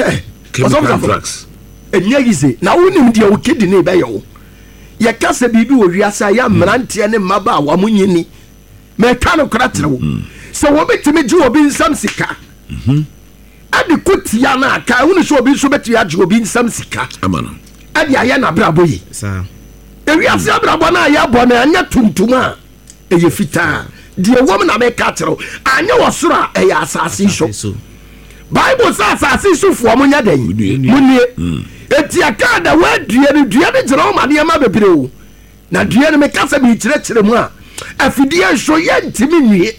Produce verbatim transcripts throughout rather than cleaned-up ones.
Hɛ, chemical ɔsɔfo, drugs. Ɛnyɛ easy na wonim deɛ wo kidney bɛyɛ wo. Yɛka sɛ biribi wɔ wiase a yɛ mmeranteɛ ne mmabaawa mo nyini, mɛka no kora kyerɛ wo sɛ wɔbɛtumi gye obi nsam sika ɛde ko tia no a, ka ɛhunu sɛ obi nso bɛtumi agye obi nsam sika ama no ɛde ayɛ n'abrabɔ yi. Saa. Ewiase abrabɔ no a yɛbɔ no, ɛnyɛ tuntum a ɛyɛ fitaa. Deɛ wɔm na mɛka kyerɛ wo, anyɛ wɔ soro a, ɛyɛ asase yi so. So Bible sɛ asase yi sofoɔ, monyɛ dɛn? Munue. Munie. Enti ɛkaa da woadue no, dua no gyina wo ma nneɛma bebree o. Na dua no, meka sɛ mekyerɛkyerɛ mu a, afidie nso yɛntimi nwie.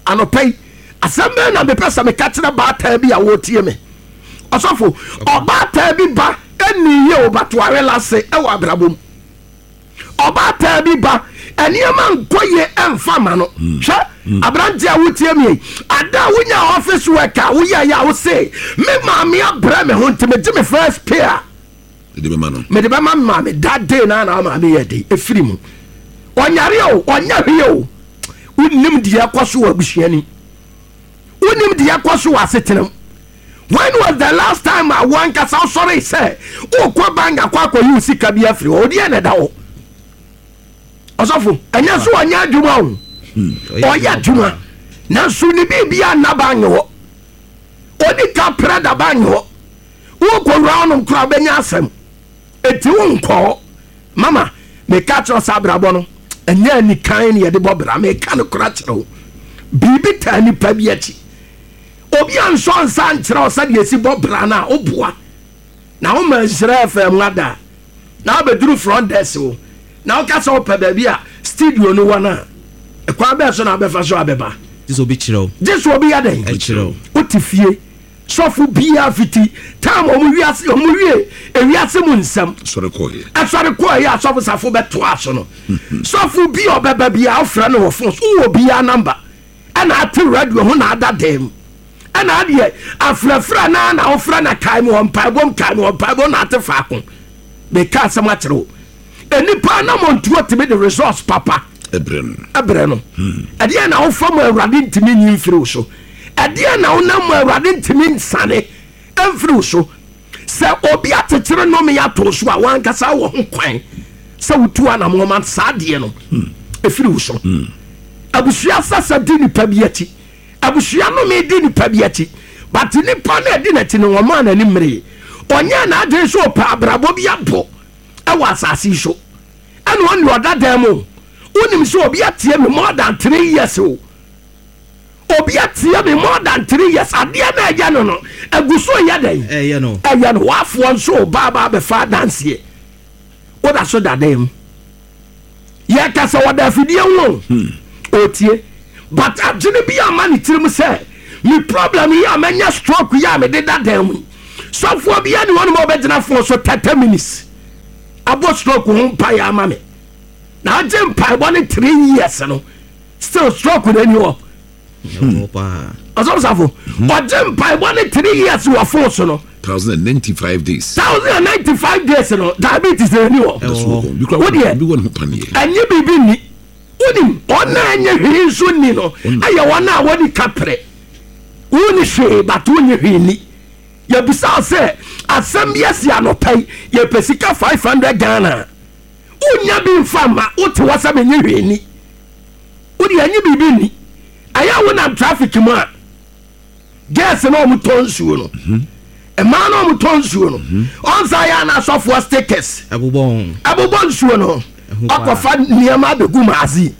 Anɔpa yi, asɛm bɛɛ na mepɛ sɛ meka kyerɛ baataa bi a wɔretie me. Ɔsɔfo, ɔbaataa bi ba ɛni yie o, batoare lase ɛwɔ abrabɔ mu. Ɔbaataa bi ba, nneɛma nkɔ yie ɛmfa ma no. Hwɛ, aberanteɛ a wotie mi yi, ada a wonya office work a woyɛ yɛ a, wose me maame abrɛ me ho nti megye me first pay a ɛde bɛma no, mede bɛma me maame. That day na na maame yɛ de ɛfiri mu. Ɔnyare o, ɔnyɛ hwee o. Wonim deɛ ɛkɔ so wɔ abusuani, wonim deɛ ɛkɔ so wɔ asetenam. When was the last time a wankasa wosɔre sɛ wokɔ bank akɔ akɔyi wo sika bi afiri hɔ? Wodeɛ na ɛda hɔ. Ɔsɔfo, ɛnyɛ so ɔnyɛ adwuma o, ɔyɛ adwuma, nanso ne biribia nna bank hɔ. Ɔdi ka prɛ da bank hɔ. Wokɔwura wonom koraa, wobɛnya asɛm. Enti wonkɔɔ mama meka kyerɛ sɛ abrabɔ no ɛnyɛ anikan ne yɛde bɔ bra. Meka no kora kyerɛ wo, biribi taa nipa bi akyi. Obi ansɔ nsa nkyerɛ wo sɛdeɛ ɛsi bɔ bra no a, woboa na woma Nhyira F M ada na wobɛduru front desk wo na woka sɛ wopɛ baabi a studio no wɔ no a, ɛkwan bɛɛ so na wobɛfa so abɛba? Gye sɛ obi kyerɛ wo. Gye sɛ obi yɛ dɛn? Ɛkyerɛ wo. Wote fie, sɔfo biara fiti time ɔmo wiase, ɔmo wie ewiase mu nsɛm sɔre kɔɔyɛ. Ɛsɔre kɔɔ yɛ asɔfo safo bɛtoa so no, sɔfo bi a ɔbɛba bi a ɔfrɛ no wɔ phone so, wowɔ biara number, ɛna ate radio ho na ada dan mu, ɛna adeɛ afrɛfrɛ naa na wofrɛ na kae mu wɔ mpaebom, kae mu wɔ mpaebom na ate faako. Meka asɛm akyerɛ wo, enipa na mɔntuo tumi de resource papa ɛbrɛ no. Ɛbrɛ no. Ɛdeɛ na wofa mu, Awurade ntumi nyi mfiri wo so. Ɛdeɛ na wonam mu, Awurade ntumi nsane ɛmfiri wo so. Sɛ obi akyekyere nnome ato so a, wankasa wɔ ho kwan sɛ wotu anammɔma saa adeɛ no ɛfiri wo so. Abusua sasa di nipa bi akyi, abusua nnome di nipa bi akyi, but nipa no adi n'akyi no, wɔmaa n'ani mmere. Ɔnyɛ n'adwene sɛ ɔpɛ abrabɔ bi abɔ ɛwɔ asase yi so. Ɛna ɔne ɔda dan mu. Wonim sɛ obi atie me more than three years o. Obi atie me more than three years, adeɛ na ɛyɛ no no agu so yɛ dɛn? Ɛyɛ no. Ɛyɛ no. Wafoɔ nso baaba bɛfa adanseɛ, woda so da dan mu. Yɛka sɛ wɔda afidie ho, ɔtie, but adwene bi ama ne tirim sɛ me problem yi a manya, stroke yi a mede da dan mu yi, sɔfoɔ bi ani hɔ nom a ɔbɛgyina phone so thirty minutes abɔ stroke ho mpaeɛ ama me. Na agye mpaebɔ ne three years no, still stroke no ani hɔ. Ɛwɔ paa. Ɔsɔfosafo, ɔgye mpaebɔ ne three years wɔ phone so no, thousand and ninety five days. Thousand and ninety five days no, diabetes na ani hɔ. That's Ɛwɔ. what bi kura. Wo deɛ? Bi wɔ ne ho paneɛ. Ɛnyɛ biribi nni. Wonim ɔna ɛnyɛ hwee nso nni no, ɛyɛ wɔn a wɔde kaprɛ wonni hwee, but wonni hwee ni. Yɛbisa wo sɛ asɛm bi asi anɔpa yi, yɛpɛ sika five hundred Ghana, wonya bi mfa ma wote hɔ sɛ menyɛ hwee ni. Wode ɛnyɛ biribi nni. Ɛyɛ a wonam traffic mu a, girls na ɔmo tɔ nsuo no, mmaa na ɔmo tɔ nsuo no, ɔnsa yɛ ana asɔfoɔ stickers ɛbobɔ ho. Ɛbobɔ nsuo no. Ɛho paa. Akɔfa nneɛma abɛgu maazi.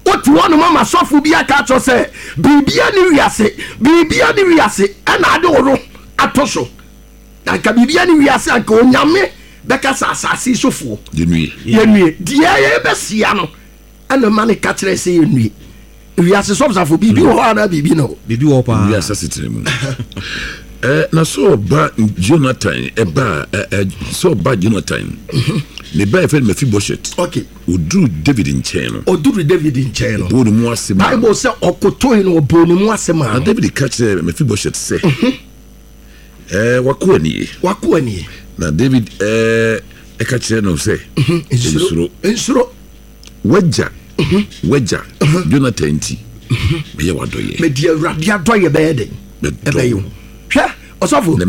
Wote hɔ nom ama sɔfo bi aka akyerɛ sɛ biribia ne wiase, biribia ne wiase, ɛna ade wo no ato so. Na nka biribia ne wiase, anka Onyame bɛka sɛ asase yi sofoɔ yɛnue. Yɛnue. Deɛ yɛbɛsia no, ɛna ma ne ka kyerɛ sɛ yɛnue. Wiase, sɔfosafo, biribi wɔ hɔ anaa biribi no? Biribi wɔ paa. Wiase asetena mu. Ɛ na sɛ ɔba Jonathan ɛba ɛ ɛ sɛ ɔba Jonathan ne ba yɛfɛ no Mephibosheth, okay oduru David nkyɛn no, ɔduru David nkyɛn no, ɔbɔɔ ne mu ase ma Bible sɛ ɔkotoe no, ɔbɔɔ ne mu ase maa na no. David ka kyerɛ Mephibosheth sɛ, ɛɛ wako anie? Wako anie? Na David ɛɛ ɛka kyerɛ no sɛ, nsuro. Nsuro. wagya wagya Jonathan nti mɛyɛ wadɔyɛ. Mede Awurade adɔyɛ bɛyɛ den? Bɛdɔ. Ɛbɛyɛ wo. Hwɛ, ɔsɔfo. Na